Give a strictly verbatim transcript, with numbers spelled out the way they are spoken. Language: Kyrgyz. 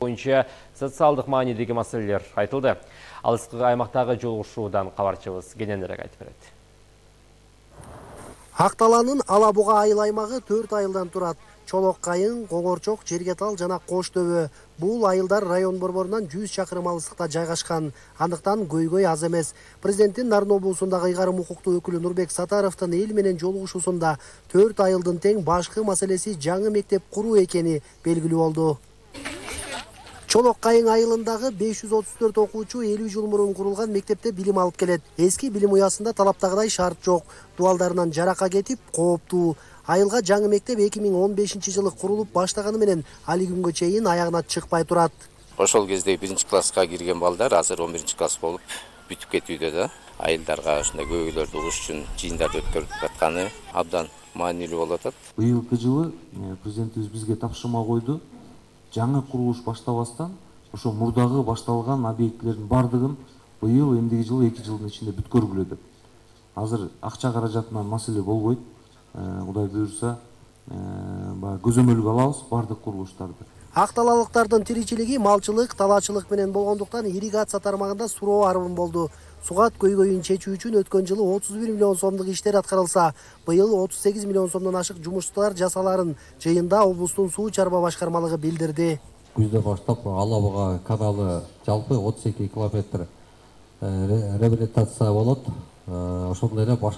боюнча социалдык маанидеги маселелер айтылды. Алыскы аймактагы жолугушуудан кабарчыбыз кененирээк айтып берет. Акталанын Ала Буга айыл аймагы төрт айылдан турат. Чолок Кайын, Коңорчок, Жергетал жана Кош Төбө. Бул айылдар район борборунан жүз чакырым алыстыкта жайгашкан. Андыктан көйгөй аз эмес. Президенттин Нарын облусундагы ыйгарым укуктуу өкүлү Нурбек Сатаровдун эл менен жолугушуусунда төрт айылдын тең башкы маселеси жаңы мектеп куруу экени белгилүү болду. Чолок Кайын айылындагы беш жүз отуз төрт окуучу элүү жыл мурун курулган мектепте билим алып келет. Эски билим уясында талаптагыдай шарт жок. Дуалдарынан жарака кетип, кооптуу. Айылга жаңы мектеп эки миң он бешинчи жылы курулуп баштаганы менен али күнгө чейин аягына чыкпай турат. Ошол кезде биринчи класска кирген балдар азыр он биринчи класс болуп бүтүп кетүүдө да. Айылдарга ушундай көйгөйлөрдү угуш үчүн жыйындарды өткөрүп атканы абдан маанилүү болуп атат. Быйылкы жылы президентибиз бизге тапшырма койду. Жаңы курулуш баштабастан ошо мурдагы башталган объектилердин бардыгын быйыл эмдиги жылы эки жылдын ичинде бүткөргүлө деп. Азыр акча каражатынан маселе болбойт. Кудай буюрса, көзөмөлгө алабыз бардык курулуштарды. Акталалыктардын тиричилиги малчылык, талаачылык менен болгондуктан ирригация тармагында суроо арбын болду. Сугат көйгөйүн чечүү үчүн өткөн жылы отуз бир миллион сомдук иштер аткарылса, быйыл отуз сегиз миллион сомдон ашык жумуштар жасаларын жыйында облустун суу чарба башкармалыгы билдирди. Күздө баштап Ала Буга каналы жалпы отуз эки километр реабилитация болот. Ошондой эле башка